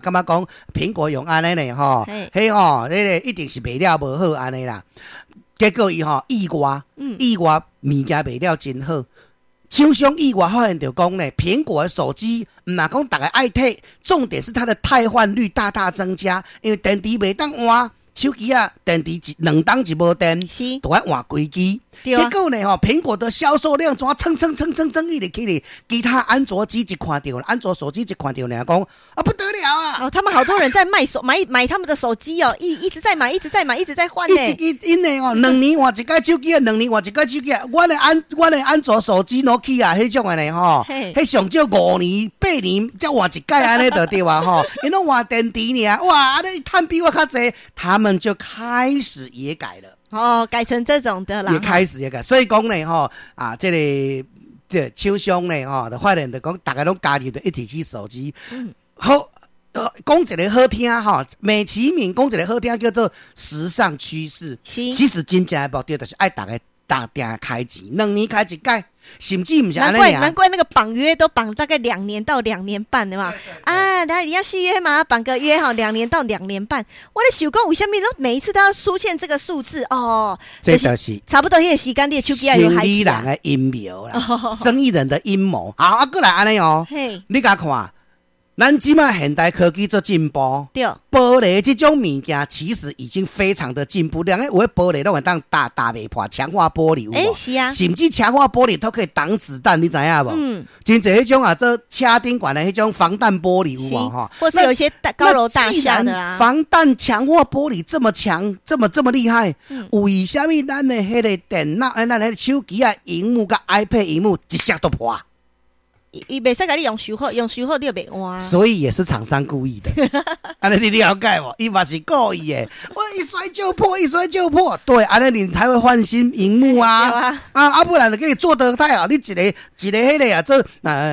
感覺講蘋果用按呢呢吼，彼吼，彼個一定是賣了無好按呢啦。結果伊吼意外，意外物件賣了真好。廠商意外發現著講呢，蘋果的手機毋若講逐家愛提，重點是它的汰換率大大增加，因為電池袂當換，手機仔電池一兩冬就無電，都愛換規支。結果呢，吼，蘋果的銷售量怎蹭蹭蹭蹭蹭一直起咧，其他安卓機一看著，安卓手機一看著爾講啊不得了啊！哦，他們好多人在賣手買買他們的手機哦，一直在買，一直在買，一直在換呢。一支𪜶的哦，兩年換一改手機啊，兩年換一改手機啊。阮的安卓手機諾基亞彼種的呢吼，彼上少5年8年才換一改按呢就對啊吼，𪜶攏換電池爾，哇，按呢趁比我較濟，他們就開始也改了。哦，改成這種的啦。也開始也改，所以講呢，吼啊，這個這廠商呢，吼，就發現就講，逐家攏加入著一體機手機。好，講一個好聽吼，美其名講一個好聽叫做時尚趨勢。其實真正的目的就是愛逐家逐定開錢，兩年開一改，甚至毋是難怪難怪那個綁約都綁大概2年到2年半的嘛。啊，那你要續約嘛？綁個約哈，2年到2年半。我咧想講，為啥物攏每一次都要出現這個數字哦？這就是差不多彼個時間，你的手機也有生意人的陰謀啦，生意人的陰謀。好，啊，閣來按呢哦，你共看，咱這馬現代科技做進步，玻璃這種物件其實已經非常的進步。兩个有的玻璃攏會當打打袂破，強化玻璃有無？欸，是啊。甚至強化玻璃都可以擋子彈，你知影無？真濟彼種啊，做車頂懸的彼種防彈玻璃有無？吼，或是有一些大高樓大廈的啦。防彈強化玻璃這麼強，這麼這麼厲害，為啥物咱的彼個電腦、咱的彼個手機仔螢幕佮 iPad 螢幕一摔就破？伊袂使共你用修好，用修好你就袂換。所以也是廠商故意的，按呢你了解無？伊嘛是故意的，我一摔就破，一摔就破。對，按呢你才會換新螢幕啊。啊啊，不然給你做得太好，你一个一个彼個啊，這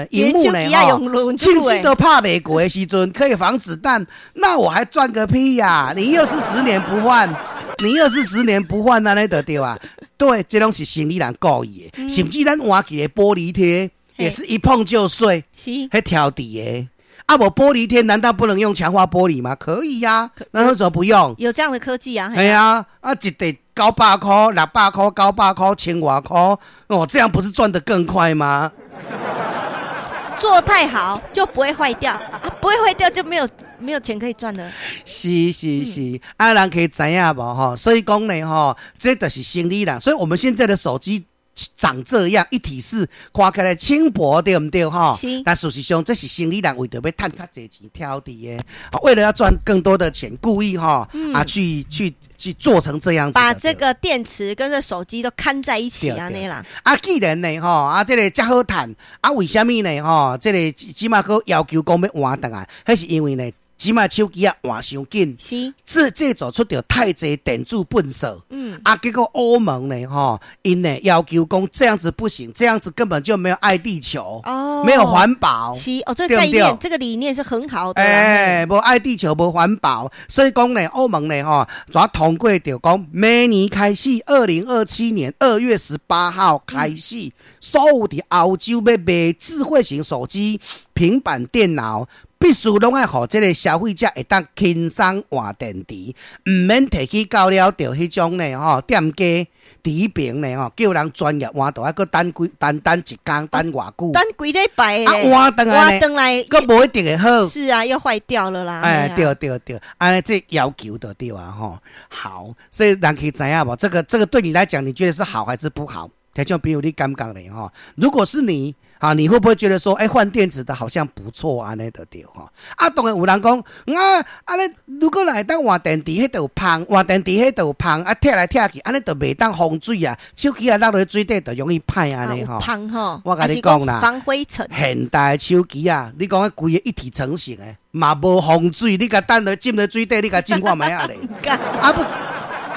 螢幕呢，吼，甚至都拍袂過的時陣，可以防子彈，那我還賺個屁呀！你又是十年不換，你又是十年不換，按呢就對啊。對，這攏是生意人故意的，甚至咱換一個玻璃貼，也是一碰就碎，彼挑底的。啊，無玻璃貼難道不能用強化玻璃嗎？可以呀，那為什麼不用？有這樣的科技啊！係啊，啊一塊900塊、600塊、900塊、千外塊，哦，這樣不是賺得更快嗎？做太好就不會壞掉啊，不會壞掉就沒有錢可以賺了。是是是，啊，人可以知影無吼？所以講呢吼，這就是生意人。所以我們現在的手機長這樣，一體式，看起來輕薄，對毋對？吼，但事實上，這是生意人為著欲趁較濟錢挑佇的，為了要賺更多的錢，故意哈啊去做成這樣子，把這個電池跟這手機都看在一起按呢啦。啊，既然呢吼，啊這個遮好趁，啊為啥物呢吼？這個這馬閣要求講欲換轉來，彼是因為呢，這馬手機仔換傷緊，製造出著太濟電子糞埽，啊，結果歐盟呢，吼，𪜶呢要求講這樣子不行，這樣子根本就沒有愛地球，沒有環保，是哦，這個概念，這個理念是很好的。欸，無愛地球，無環保，所以講呢，歐盟呢，吼，怎通過著講，明年開始，2027年2月18號開始，所有佇歐洲欲賣智慧型手機、平板電腦，必須攏愛予這個消費者會當輕鬆換電池，毋免提去到了著彼種呢吼店家佇彼爿呢吼，叫人專業換，著愛閣等幾等等一工，等偌久？等幾禮拜。啊，換轉來換轉來，閣無一定會好。是啊，又壞掉了啦。哎，對對對，按呢這要求就對啊吼。好，所以人可以知影無？這個對你來講，你覺得是好還是不好？聽眾朋友，你感覺咧吼？如果是你，啊，你會不會覺得說，欸，換電池的好像不錯按呢就對吼？啊，當然有人講，啊，按呢如果若會當換電池，彼就有芳，換電池彼就有芳，啊，拆來拆去，按呢就袂當防水啊，手機仔落佇水底就容易歹按呢吼。芳吼，我共你講啦，防灰塵。現代手機啊，你講彼規个一體成型的，嘛無防水，你共擲落浸佇水底，你共浸看覓仔咧。啊不，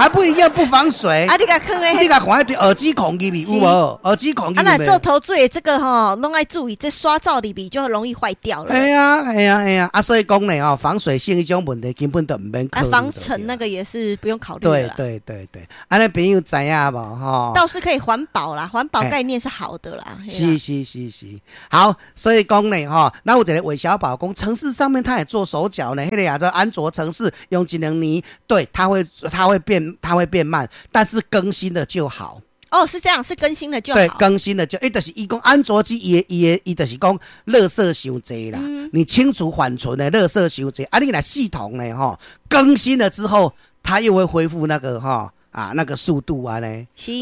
還不一樣不防水。啊，你共囥咧，你共看彼對耳機孔入去有無？耳機孔入去。啊，若做頭水這個吼，攏愛注意，這刷罩裡面就容易壞掉了。係啊，係啊，係啊，啊，所以講呢，吼，防水性彼種問題根本就毋免考慮。啊，防塵那個也是不用考慮。對對對對，按呢朋友知影無？吼，倒是可以環保啦，環保概念是好的啦。是是是是，好，所以講呢，吼，那有一个韋小寶講，程式上面他也做手腳呢，彼个叫做安卓程式用一兩年，對，它會變慢，但是更新了就好。哦，是這樣，是更新了就好。對，更新了就，伊就是伊講安卓機，伊的伊的伊就是講垃圾傷濟啦，你清除緩存的垃圾傷濟，啊，你若系統呢，吼，更新了之後，它又會恢復那個吼啊那個速度啊呢，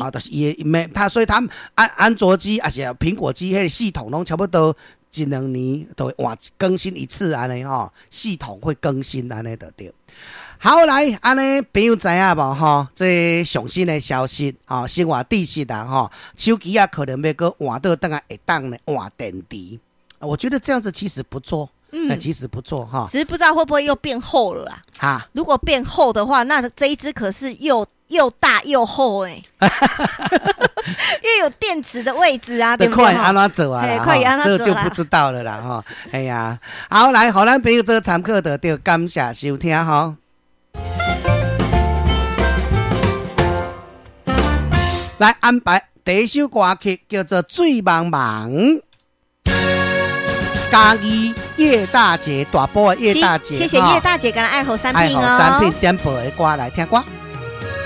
啊，就是伊沒它，所以他安卓機抑是蘋果機，彼个系統攏差不多一兩年都會換更新一次按呢吼，系統會更新按呢就對。好來，按呢朋友知影無吼？這上新的消息，吼，生活知識啦，吼，手機啊可能欲閣換倒轉來會當呢換電池，我覺得這樣子其實不錯，其實不錯哈。只是不知道會不會又變厚了啦。哈，如果變厚的話，那這一支可是又大又厚欸，又有電池的位置啊，對不對？看按怎做啊，這就不知道了啦，吼。哎呀，好來，予咱朋友做參考就對，感謝收聽吼。來安排第一首歌曲叫做《水茫茫》，嘉義葉大姐，大埔的葉大姐，謝謝葉大姐，佮愛好三品哦，愛好三品點播的歌來聽歌。